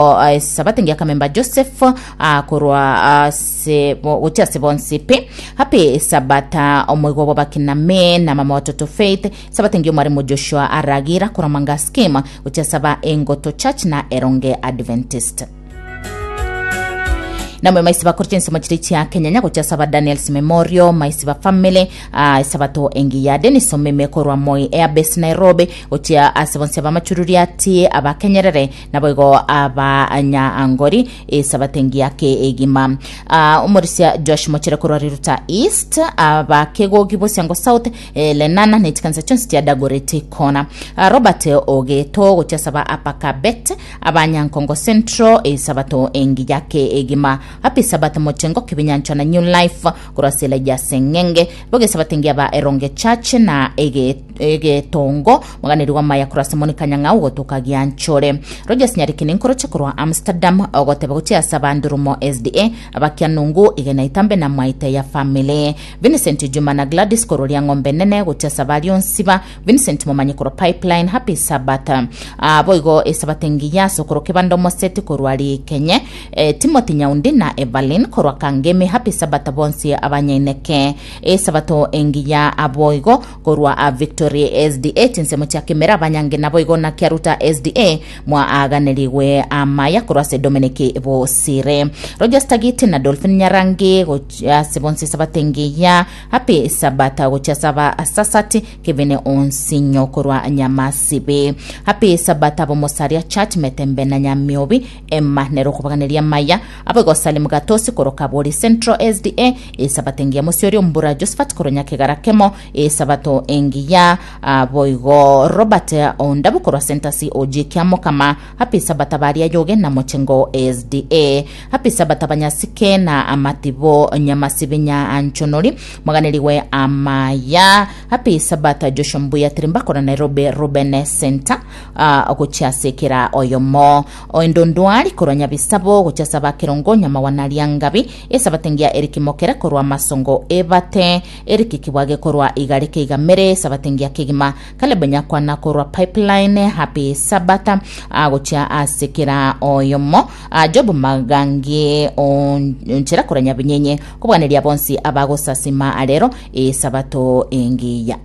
Esabato engiya akamemba Joseph korwa ase gochia ase bonsi pi. Happy Sabata omoigwa bw'abakiname na mama watoto Faith. Esabato engiya omwarimu Joshua Aragira korwa Manga Scheme gochia saba Engoto Church na Eronge Adventist. Namwe maisi bakore chinsemo chiri chia Kenyanya gochia saba Daniels Memorial maisi ba family esabato engiya Dennis Omeme korwa Moi Airbase Nairobi gochia ase bonsi abamachururiati abakenyerere Naboigo abanyaangori esabato engiya kegima. Ah, omorisia Josh Mochere korwa Riruta East, abakegogi Bosiango South, eh, Lenana ne chikanisa chionsi chia Dagoretti Corner. Ah, Robert Ogeto gochia saba Apakabet, abanyankongo Central esabato engiya kegima. Happy Sabbath Mochengo Kibinyanchwa na New Life korwa ase Elijah Seng'enge. Boge esabato engiya ba Eronge Church na ege egetongo Moganeri w'amaya korwa ase Monica Nyang'au gotoka Gianchore. Rogers Nyarikini nkoroche korwa Amsterdam ogoteba gochia ase abandurumo SDA abakianungu igena itambe na mwaite ya family. Vincent Juma na Gladys korwa Riang'ombe Nene gochia ase abaria onsiba Vincent Momanyi korwa Pipeline Happy Sabbath. Ah, boigo esabato engiya ase okorwa Kebanda Omoseti korwa Rikenye eh, Timothy Nyaundi na Evelyn korwa Kangemi Happy Sabbath bonsi abanyaineke esabato engiya aboigo Korwa a Victory SDA chinsemo chia Kimera abanyange naboigo na Kiaruta SDA mwaaganerigwe amaya korwa ase Dominic Bosire. Rogers Tagiti na Dolphin Nyarangi gochia ase bonsi Sabato engiya Happy Sabata gochia ase aba Sasati Kevin Onsinyo korwa Nyamasibi. Happy Sabata Bomosaria Church Metembe na Nyamiobi Emma nere okobaganeria amaya Aboigo Salim Gatosi korwa Kabori Central SDA, Esabato engiya Mosiori Ombura Josephat korwa Nyakegara Kemo, Esabato engiya boigo Robert Ondabu korwa Sentasi OG Kiamokama, Happy Sabata baria Yoge na Mochengo SDA, Happy Sabata Banyasike na Amatibo Nyamasibi Nyanchonori Moganerigwe amaya, Happy Sabata Joshua Mbuya Tirimba korwa Nairobi Ruben Center gochia ase kera oyomo. Oendondwari korwa Nyabisabo gochia ase abakerongo Nyamawana Riangabi, Esabato engiya Eriki Mokere korwa Masongo Ebate, Eriki Kibwage korwa Igare Keigamere, Esabato engiya kegima Caleb Nyakwana korwa Pipeline, Happy Sabbath gochia ase kera oyomo Job Magangi Onchera korwa Nyabinyenye, kobwaneria bonsi abagosasima arero Esabato engiya.